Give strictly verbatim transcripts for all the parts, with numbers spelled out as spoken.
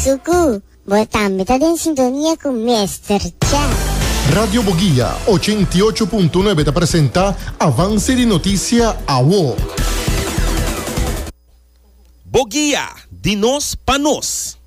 Suku, bo tambe ta den sintonia ku Mister Cha. Radio Boguia ochenta i ocho punto nuebe ta presentá Avance di Notisia Awo. Boguia, di nos pa nos.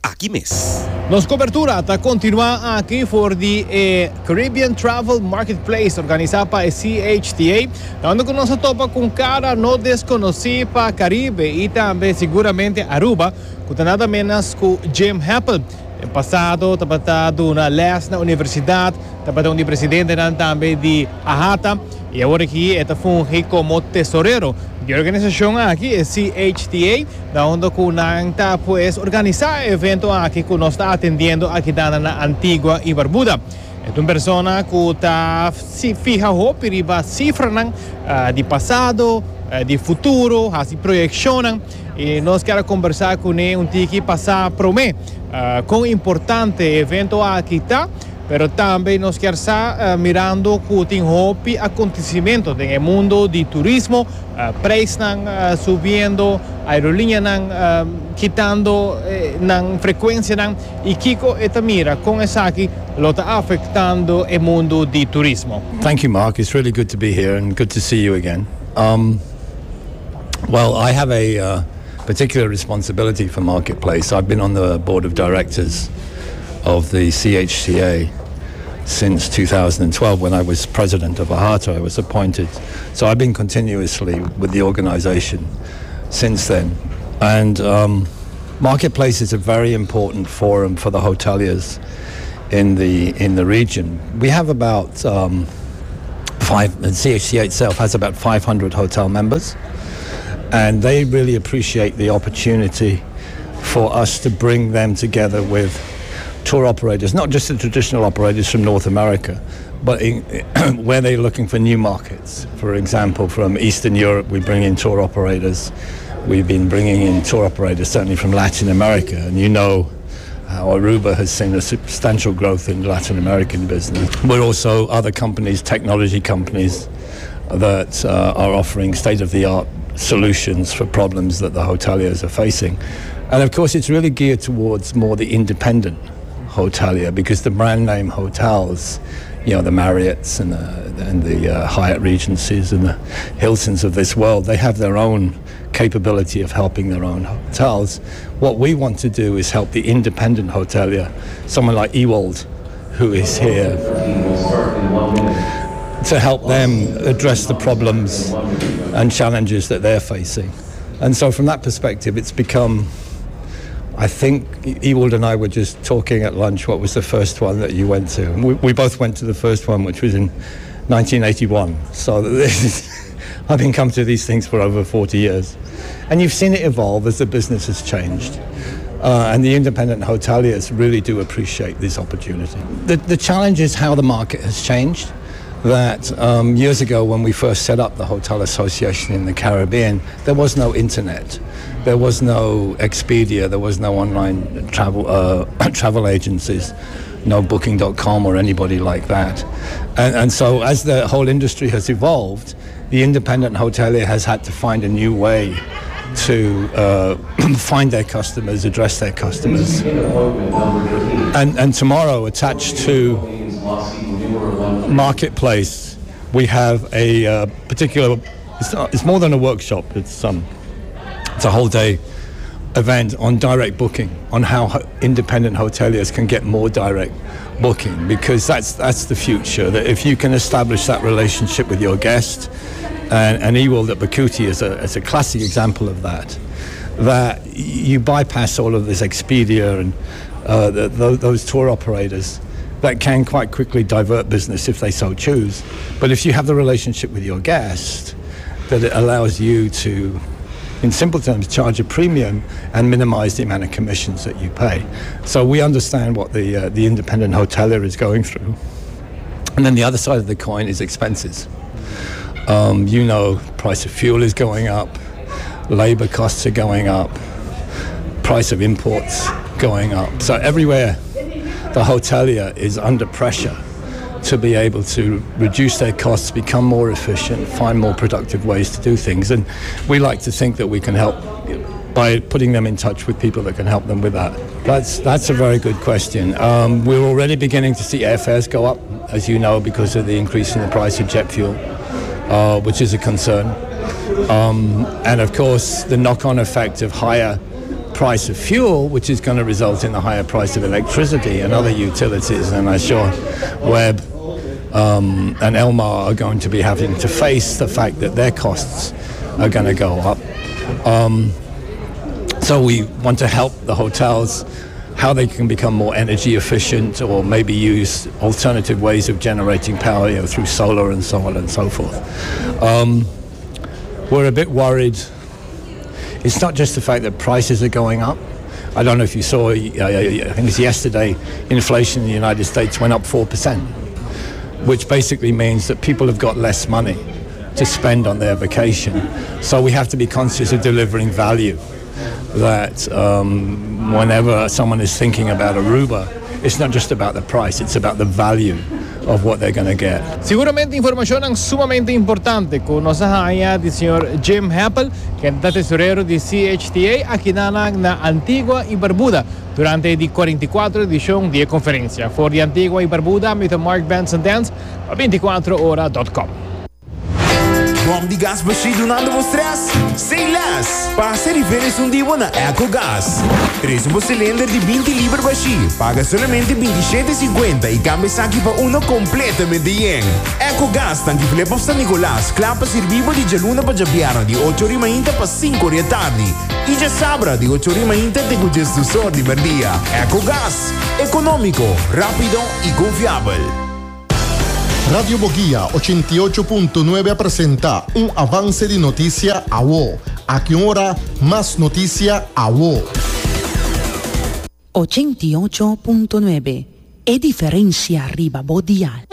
Aki mes. Nos kobertura ta kontinuá aki for di eh, Caribbean Travel Marketplace, organisá pa C H T A, unda ku nos a topa ku kara no deskonosí pa Karibe i tambe siguramente Aruba, ku nada menos ku Jim Hepple. Den pasado, tabata duna les na universidat, tabata un presidente tambe di AHATA, i awor aki e ta fungi komo tesorero di e organisashon aki, e C H T A, na unda ku nan ta, pues, organisá e evento aki ku nos ta atendiendo aki na Antigua i Barbuda. E un persona ku ta si fiha hopi riba sifranan uh, di pasado, uh, di futuro, hasi proyekshon, i nos ke kombersá kuné un tiki pasa promé uh, kon importante e evento aki ta, pero tambe nos ke sa, uh, mirando ku tin hopi akontesimentu den mundu di turismo, uh, preisnan uh, subiendo, aerolíneanan uh, kitando eh, nan frekuensianan, i kiko e ta mira kon esaki lo ta afektando e mundu di turismo. Thank you, Mark. It's really good to be here and good to see you again. Um, well, I have a uh, particular responsibility for Marketplace. I've been on the board of directors of the C H T A since twenty twelve, when I was president of AHATA. I was appointed. So I've been continuously with the organization since then. And um, Marketplace is a very important forum for the hoteliers in the in the region. We have about um, five, the C H T A itself has about five hundred hotel members, and they really appreciate the opportunity for us to bring them together with tour operators, not just the traditional operators from North America, but in, where they're looking for new markets. For example, from Eastern Europe, we bring in tour operators. We've been bringing in tour operators certainly from Latin America, and you know how Aruba has seen a substantial growth in Latin American business. But also other companies, technology companies, that uh, are offering state-of-the-art solutions for problems that the hoteliers are facing. And of course, it's really geared towards more the independent hotelier, because the brand name hotels, you know, the Marriotts and the, and the uh, Hyatt Regencies and the Hiltons of this world, they have their own capability of helping their own hotels. What we want to do is help the independent hotelier, someone like Ewald, who is here, to help them address the problems and challenges that they're facing. And so from that perspective, it's become, I think Ewald and I were just talking at lunch, what was the first one that you went to? And we, we both went to the first one, which was in nineteen eighty-one. So this is, I've been coming to these things for over forty years. And you've seen it evolve as the business has changed. Uh, and the independent hoteliers really do appreciate this opportunity. The, the challenge is how the market has changed. That um, years ago, when we first set up the Hotel Association in the Caribbean, there was no internet. There was no Expedia, there was no online travel, uh, travel agencies, no Booking dot com or anybody like that. And, and so as the whole industry has evolved, the independent hotelier has had to find a new way to uh, find their customers, address their customers. And, and tomorrow, attached to Marketplace, we have a uh, particular, it's, not, it's more than a workshop, it's, um, it's a whole day event on direct booking, on how ho- independent hoteliers can get more direct booking, because that's, that's the future, that if you can establish that relationship with your guest, and, and Ewald at Bucuti is a, is a classic example of that, that you bypass all of this Expedia and uh, the, the, those tour operators that can quite quickly divert business if they so choose. But if you have the relationship with your guest, that it allows you to, in simple terms, charge a premium and minimize the amount of commissions that you pay. So we understand what the, uh, the independent hotelier is going through. And then the other side of the coin is expenses. Um, you know, price of fuel is going up, labor costs are going up, price of imports going up. So everywhere the hotelier is under pressure to be able to reduce their costs, become more efficient, find more productive ways to do things. And we like to think that we can help by putting them in touch with people that can help them with that. That's, that's a very good question. Um, we're already beginning to see airfares go up, as you know, because of the increase in the price of jet fuel, uh, which is a concern. Um, and of course, the knock-on effect of higher price of fuel, which is going to result in the higher price of electricity and other utilities. And I'm sure W E B um, and Elmar are going to be having to face the fact that their costs are going to go up. Um, so we want to help the hotels how they can become more energy efficient or maybe use alternative ways of generating power, you know, through solar and so on and so forth. Um, we're a bit worried. It's not just the fact that prices are going up. I don't know if you saw, uh, I think it's yesterday, inflation in the United States went up four percent, which basically means that people have got less money to spend on their vacation. So we have to be conscious of delivering value. That um, whenever someone is thinking about Aruba, it's not just about the price, it's about the value of what they're going to get. Siguramente informacion sumamente importante cu nos a haya di señor Jim Hepple, cu ta tesorero di C H T A aki na, na Antigua y Barbuda durante e cuarenta y cuater edicion di e conferencia. For di Antigua y Barbuda, mi Mark Benson Dance, pa binticuater ora punto com. Bom di gas bashí dunando bo stress? Say less! Pasa riba un dia na EcoGas. Tres un cilinder di binti liber bashí. Paga solamente bintisshete cincuenta y cambia esaki pa uno completamente yen. EcoGas, tanki Flip San Nicolas, cla pa sirbi di dialuna pa diabierna di ocho or di mainta pa cinco or di atardi. Y diasabra di ocho or di mainta te diesdos or di merdia. EcoGas, economico, rapido y confiabel. Radio Bo Guia ochenta i ocho punto nuebe ta presenta un avance di noticia awo. Aki ora, mas noticia awo. ochenta i ocho punto nuebe. E diferencia riba bo dial.